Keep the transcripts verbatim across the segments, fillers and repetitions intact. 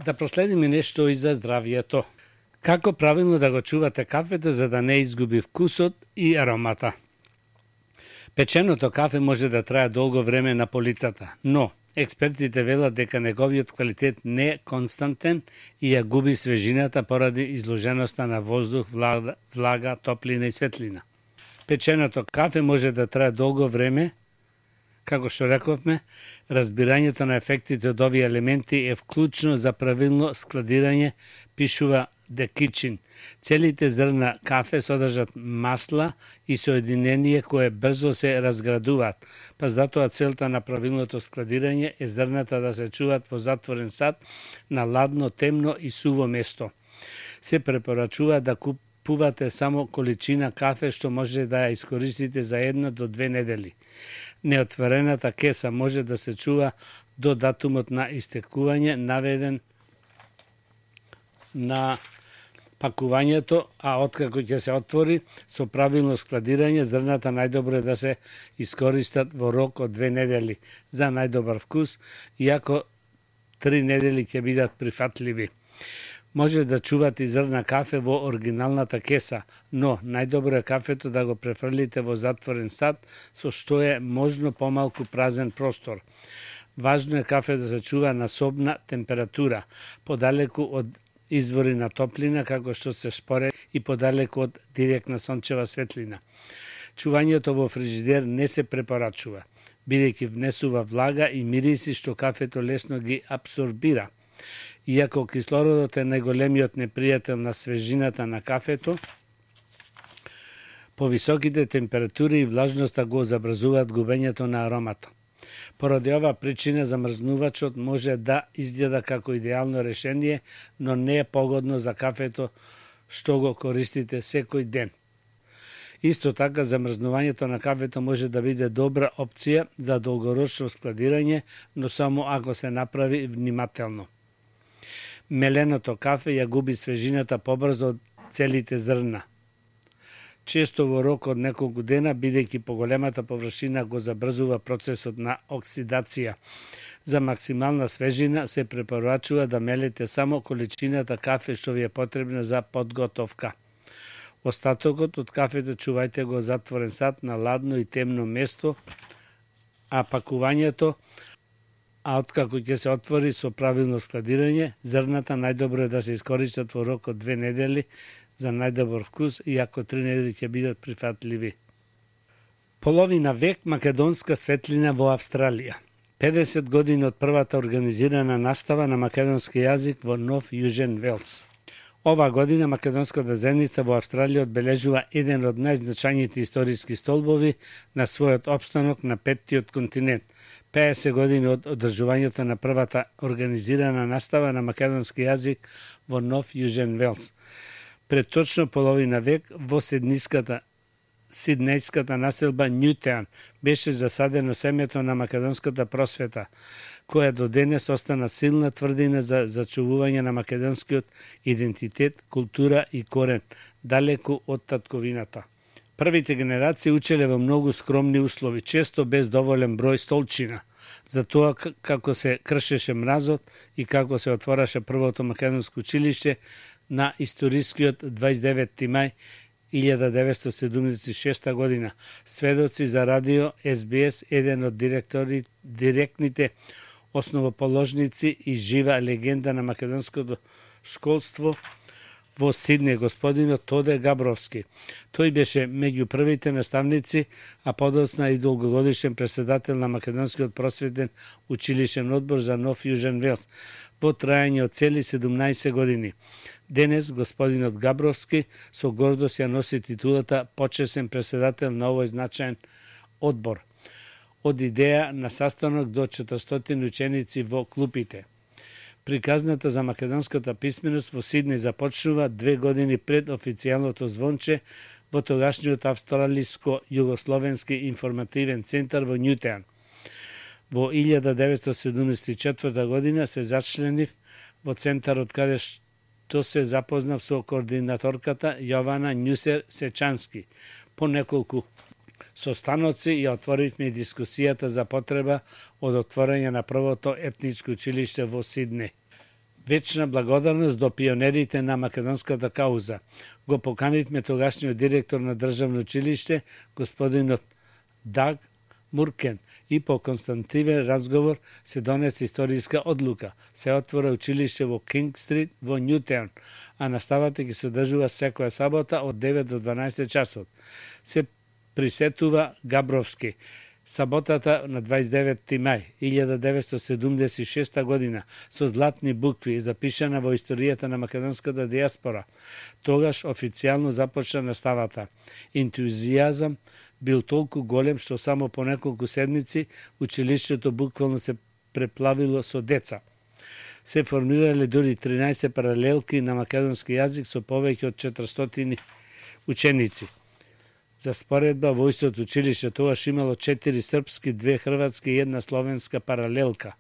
Да проследиме нешто и за здравието. Како правилно да го чувате кафето за да не изгуби вкусот и аромата? Печеното кафе може да трае долго време на полицата, но експертите велат дека неговиот квалитет не е константен и ја губи свежината поради изложеноста на воздух, влага, влага, топлина и светлина. Печеното кафе може да трае долго време. Како што рековме, разбирањето на ефектите од овие елементи е вклучно за правилно складирање, пишува The Kitchen. Целите зрна кафе содржат масла и соединение кое брзо се разградуваат, па затоа целта на правилното складирање е зрната да се чуваат во затворен сад на ладно, темно и суво место. Се препорачува да купувате само количина кафе што може да ја искористите за една до две недели. Неотворената кеса може да се чува до датумот на истекување наведен на пакувањето, а откако ќе се отвори со правилно складирање, зрната најдобро е да се искористат во рок од две недели за најдобар вкус, иако три недели ќе бидат прифатливи. Може да чувате зрна кафе во оригиналната кеса, но најдобро е кафето да го префрлите во затворен сад, со што е можно помалку празен простор. Важно е кафе да се чува на собна температура, подалеку од извори на топлина, како што се шпоре и подалеку од директна сончева светлина. Чувањето во фрижидер не се препорачува, бидејќи внесува влага и мириси што кафето лесно ги абсорбира. Иако кислородот е најголемиот непријател на свежината на кафето, повисоките температури и влажноста го забрзуваат губењето на аромата. Поради ова причина замрзнувачот може да изгледа како идеално решение, но не е погодно за кафето што го користите секој ден. Исто така, замрзнувањето на кафето може да биде добра опција за долгорочно складирање, но само ако се направи внимателно. Меленото кафе ја губи свежината побрзо од целите зрна. Често во рок од неколку дена, бидејќи поголемата површина го забрзува процесот на оксидација. За максимална свежина се препорачува да мелете само количината кафе што ви е потребна за подготовка. Остатокот од кафето чувајте го затворен сад на ладно и темно место, а пакувањето а откако ќе се отвори со правилно складирање, зрната најдобро е да се искористат во рок од две недели за најдобар вкус, иако три недели ќе бидат прифатливи. Половина век македонска светлина во Австралија. педесет години од првата организирана настава на македонски јазик во Нов Јужен Велс. Ова година македонската заедница во Австралија одбележува еден од најзначајните историски столбови на својот опстанок на петтиот континент, педесет години од одржувањето на првата организирана настава на македонски јазик во Нов Јужен Велс. Пред точно половина век во Сидниската Сиднејската населба Нјутеан беше засадено семето на македонската просвета, која до денес остана силна тврдина за зачувување на македонскиот идентитет, култура и корен, далеку од татковината. Првите генерации учеле во многу скромни услови, често без доволен број столчина, за тоа како се кршеше мразот и како се отвораше првото македонско училиште на историскиот дваесет и деветти мај илјада деветстотини седумдесет и шеста година. Сведоци за радио Ес Би Ес, еден од директори, директните основоположници и жива легенда на македонското школство во Сидне, господинот Тоде Габровски. Тој беше меѓу првите наставници, а подоцна и долгогодишен преседател на Македонскиот просветен училишен одбор за Нов Јужен Велс во трајање од цели седумнаесет години. Денес господинот Габровски со гордост ја носи титулата почесен преседател на овој значаен одбор. Од идеја на saстанок до четиристотини ученици во клупите. Приказната за македонската писменост во Сиднеј започнува две години пред официјалното звонче во тогашниот Австралиско-југословенски информативен центар во Нјутеан. Во илјада деветстотини седумдесет и четврта година се зачленив во центарот каде што се запознав со координаторката Јована Њусер Сечански. По неколку состаноци ја отворивме дискусијата за потреба од отворање на првото етничко училиште во Сиднеј. Вечна благодарност до пионерите на македонската кауза. Го поканивме тогашниот директор на државно училиште, господинот Даг Муркен, и по константивен разговор се донесе историска одлука. Се отвора училиште во Кинг Стрит во Нјутаун, а наставата ќе се одржува секоја сабота од девет до дванаесет часот. Се присетува Габровски. Саботата на дваесет и деветти мај илјада деветстотини седумдесет и шеста година со златни букви запишана во историјата на македонската диаспора. Тогаш официјално започна наставата. Ентузијазам бил толку голем што само по неколку седмици училиштето буквално се преплавило со деца. Се формирале дури тринаесет паралелки на македонски јазик со повеќе од четиристотини ученици. За споредба, во истото училиште тогаш имало четири српски, две хрватски и една словенска паралелка.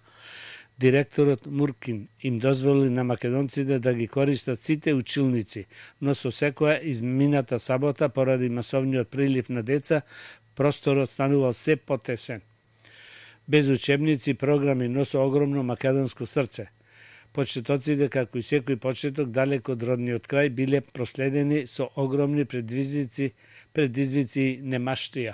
Директорот Муркин им дозволи на македонците да ги користат сите училници, но со секоја измината сабота, поради масовниот прилив на деца, просторот станувал се потесен. Без учебници и програми, но со огромно македонско срце. Почетоците, како и секој почеток, далеко од родниот крај, биле проследени со огромни предизвици, предизвици и немаштија.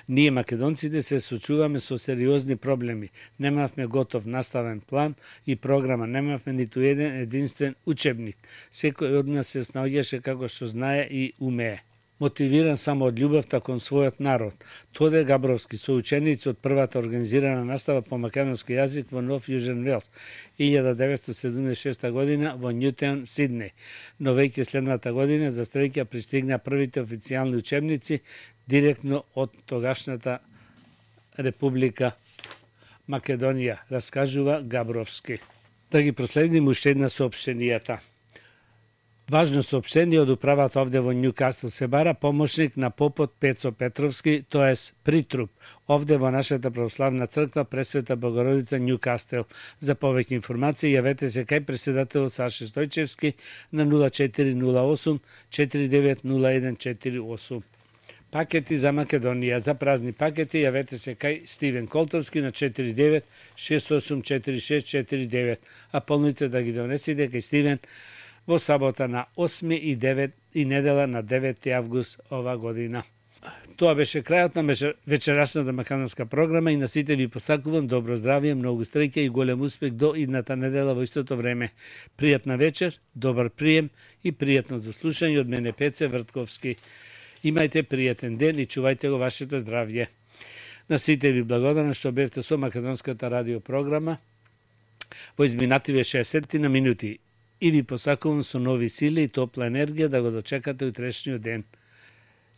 Ние, македонците, се сочуваме со сериозни проблеми. Немавме готов наставен план и програма, немавме ниту еден единствен учебник. Секој од нас се снаоѓаше како што знае и умее. Мотивиран само од љубовта кон својот народ. Тоде Габровски со ученици од првата организирана настава по македонски јазик во Нов Јужен Велс, илјада деветстотини седумдесет и шеста година во Нјутаун, Сиднеј. Но веќе следната година за Стрелќа пристигна првите официјални учебници директно од тогашната Република Македонија, раскажува Габровски. Да ги проследим уште една соопштенијата. Важно соопштение од управата овде во Њукасл. Се бара помошник на попот Пецо Петровски, тоест притруп, овде во нашата православна црква Пресвета Богородица Њукастел. За повеќе информации јавете се кај председателот Саше Стојчевски на нула четири нула осум четири девет нула еден четири осум. Пакети за Македонија. За празни пакети јавете се кај Стивен Колтовски на четири девет шест осум четири шест четири девет, а полните да ги донесите кај Стивен во сабота на осми и девет и недела на деветти август ова година. Тоа беше крајот на вечерасната македонска програма и на сите ви посакувам добро здравје, многу среќа и голем успех до идната недела во истото време. Пријатна вечер, добар прием и пријатно дослушање од мене Пеце Вртковски. Имајте пријатен ден и чувајте го вашето здравје. На сите ви благодарам што бевте со македонската радио програма во изминативе шеесет на минути. И ви посакувам со нови сили и топла енергија да го дочекате утрешниот ден.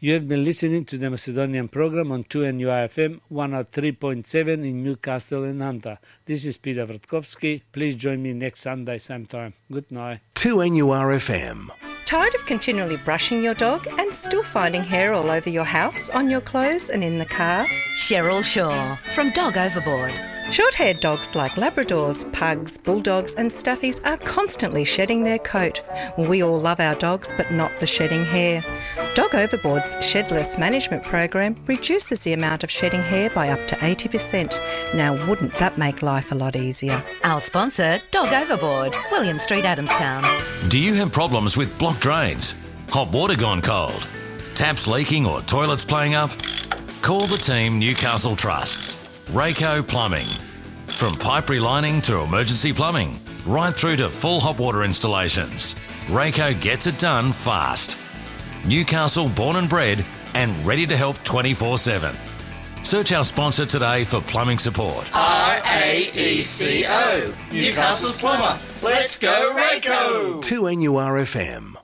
You have been listening to the Macedonian program on two N U I F M one oh three point seven in Newcastle and Hunter. This is Peter Vrtkovski. Please join me next Sunday same time. Good night. two N U R F M. Tired of continually brushing your dog and still finding hair all over your house, on your clothes and in the car? Cheryl Shaw from Dog Overboard. Short-haired dogs like Labradors, Pugs, Bulldogs and Stuffies are constantly shedding their coat. We all love our dogs, but not the shedding hair. Dog Overboard's Shedless Management Program reduces the amount of shedding hair by up to eighty percent. Now, wouldn't that make life a lot easier? Our sponsor, Dog Overboard, William Street, Adamstown. Do you have problems with blocked drains? Hot water gone cold? Taps leaking or toilets playing up? Call the team Newcastle Trusts. Rayco Plumbing. From pipe relining to emergency plumbing, right through to full hot water installations, Rayco gets it done fast. Newcastle born and bred and ready to help twenty-four seven. Search our sponsor today for plumbing support. R A E C O. Newcastle's plumber. Let's go Rayco. two N U R F M.